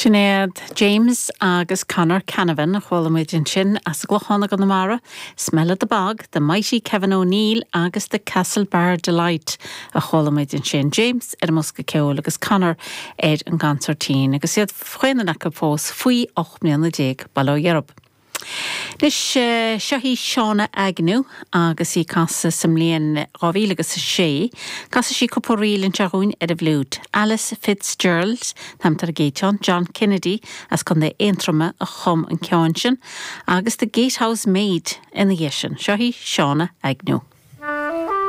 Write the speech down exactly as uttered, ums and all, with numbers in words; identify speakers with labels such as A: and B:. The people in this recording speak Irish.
A: Sin iad James agus Conor Canavan a chuala muid ansin as Gclochán i gConamara, Smell of the Bog, The Mighty Kevin O'Neill agus The Castlebar Delight a chuala muid ansin. James ar an mbosca ceoil agus Conor ar an gconsairtín agus iad chaon acu fós faoi ocht mbliana déag bail ó Dhia orthu. Anois seo í Shauna Agnew agus í ag casadh sa mbliain dhá mhíle agus a sé, Casfaidh sí cúpla ríl anseo dhúinn ar an bhfliúit. Alice Fitzgerald an t-ainm ar an gcéad cheann, John Kennedy as Contae Aontroma a chum an ceann sin, agus The Gatehouse Maid ina dhiaidh sin. Seo í Shauna Agnew.